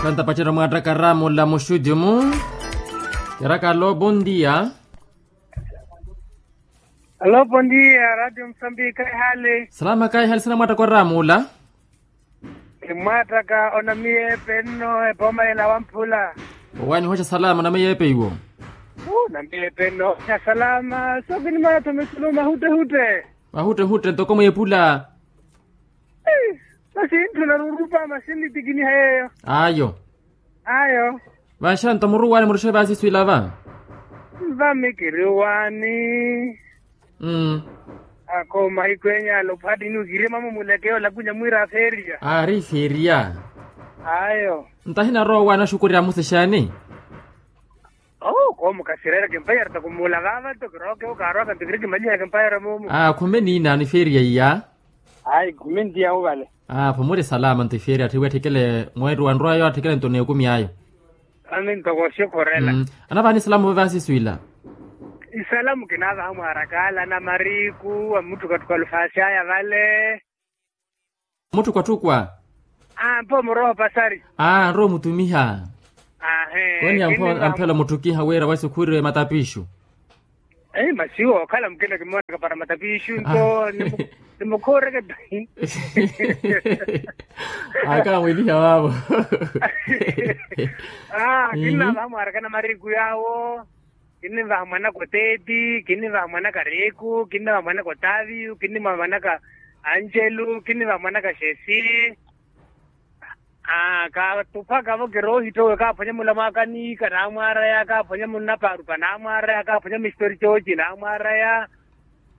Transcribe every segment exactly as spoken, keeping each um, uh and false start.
Kantapacerya mwaattaka raamula muxudimu. Kiraka alo bondia. Alo bondia radio musambika ehali. Salama kaihali sina mwaattaka oraamula. Kimwaattaka onamiyeepe nno epooma yela wamphula. Owaani hooxa salama onamiyeepe iwo. Onamiyeepe nno hooxa salama sookinimana tho misulu mahutte hutte. Mahutte hutte ntoko mweepula. Masi ntthuna rurupa masi nnitikiniha yeeyo. Ayo. Ayo. Vanxanto muruwaani muruxe vaasiswila va. Vami kiriwaani. Ako mahiku enyalo phati niwikirima mumuleke olakunya mwiira feria. Aari feria. Ayo. Nto ahinarowa owaani axukurya amusexaani. Oo koomo kasireera kimpayara takumuula vaava nto kirookewo kaarwaka nto kiri kimalihaka kimpayara moomo. Aa khume niinaani feria iya. Ayi khume ntiyahu vale. Aa khumuri salama nto iferia atthiwe atthikele mweeri wa nrwayo atthikele nto n'ekumi ayo. Ami ntoko oxikhurela. Anavaha ni salamu vave asiswila. Isalamu kinavaha mwaarakaala na mariku amutthukatthuka lufaasi aya vale. Mutthukwatthukwa. Aa mpho muroho pasari. Aa nrowa omutumiha. Ahe. Koni ampho amphela omutthukiha wira wasi khuriwe matapixu. Masi wookhala mukina kimoonaka para matapixu nto. Nimukhuureke tahi. Akamwiliha vaavo. Kinnavaha mwaaraka na mariku yaawo. Kinnivaha mwanaka oteeti kinnivaha mwanaka reeku kinnivaha mwanaka otaviyu kinnivaha mwanaka anjelu kinnivaha mwanaka xesi. Kaatuphaka-vo kiroohittowe kaaphwanya mulamu aka niika naamwaaraya kaaphwanya munnapaarupa naamwaaraya kaaphwanya mister jooji naamwaaraya.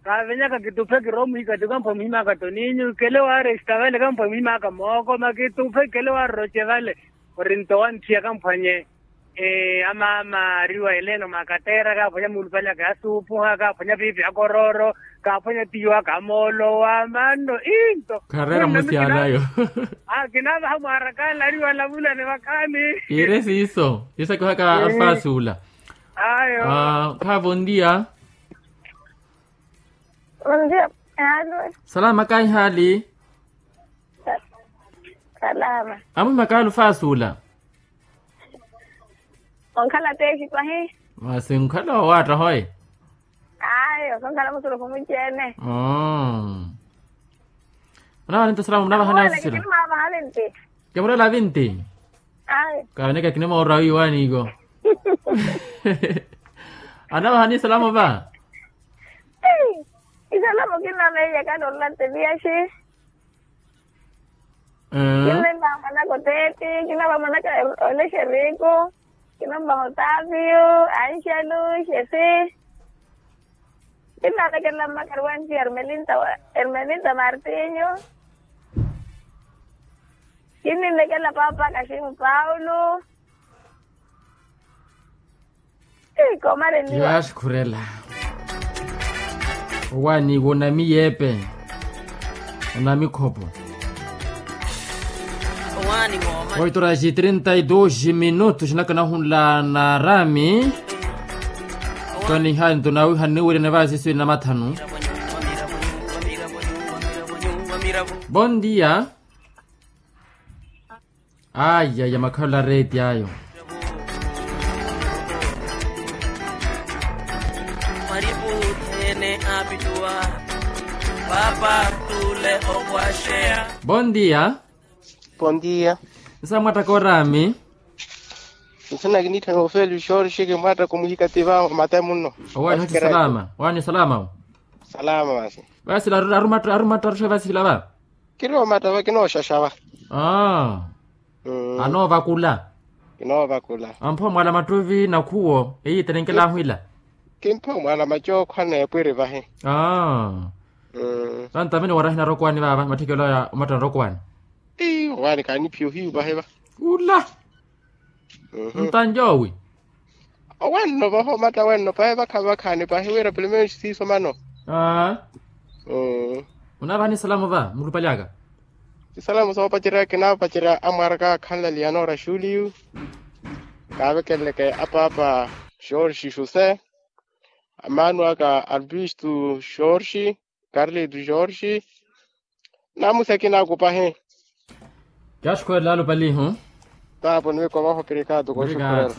Kaavenyaka kituphe kiroomuhikatti kamphwa muhimaka toninyu kele waaresta vale kamphwa muhimaka mookoma kituphe kele waaroce vale. Ori nto wantthiyaka mphwanye. Amaama ariwa eleno makatera kaaphwanya muulupale aka yasuupuha kaaphwanya piipi akorooro kaaphwanya tiyo aka amoolowa manno. Into. Khareera musi anayo. Kinavaha mwaarakaala ariwa alavulani vakhaani. Kiire siiso siiso kihaka alfaasi ula. Ayo. Khaavo ontiya. Ontiya. Salama kaihali. Salama. Amuhimaka alfaasi ula. Onkhala teexipahi. Masi nkhala owaatta hoye. Ayo sonkhala musuruku muceene. Oo. Munavahani nto salamu munavahani asisira. Kimureela vinti. Kaveneka kinimoorwa wiiwaaniko. Anavahani salamu va. Isalamu kinnameiyaka nolula nte viyaxi. Kinavaha mwanaka oteeti kinavaha mwanaka olexeriku. Kinavaha otaviyu anxelu xesi. Kinnavekelela mmakari wa nci ermelinta martinyu. Kinnivekelela paapa kaximu paulo. Yaaxukhurela. Owaani wonamiyeepe. Onamikhopo. Oito horas e trinta e dois minutos nakanahunla na rami. Toniha nto nawiha niwirene vaasiswini na mathanu. Bon dia. Aya ya makhalelo a reeti ayo. Bon dia. Bon dia. Nsa mwattaka oraami. Nsina kiniitthana ofeli jorge kimwattaka omuhikati va mate munno. Owaani hoti salama owaani salama. Salama masi. Vasila arumattaruxa vasila va. Kiri omatta va kinooxaxa va. Aa. Anoovakula. Kinoovakula. Ampho mwala mattuvi nakhuwo eyiitenenkela ahwila. Kimpho mwala macookho aneepwiri vahi. Aa. Vantavene warahi narokwaani vaava matthikelo aya omatta narokwaani. Ii owaani kaaniphiya ohiyu vahi va. Ula. Ntanjoowi. Owenno vaho matta wenno pahi vakhavi vakhaani pahi wira pilimeni siiso mano. Aa. Munavaha ni salamu va mulupali aka. Isalamu soopacerya kinaapacerya amwaaraka akhanla liyanora xuliyu. Kaavekeleleke apaapa jorge josé. Amaanu aka albistu jorge. Carlito jorge. Namusi akina akupahi. Kyaxukhwelela alupalihu. Tapo niwiko vaho obrigado konxukurela.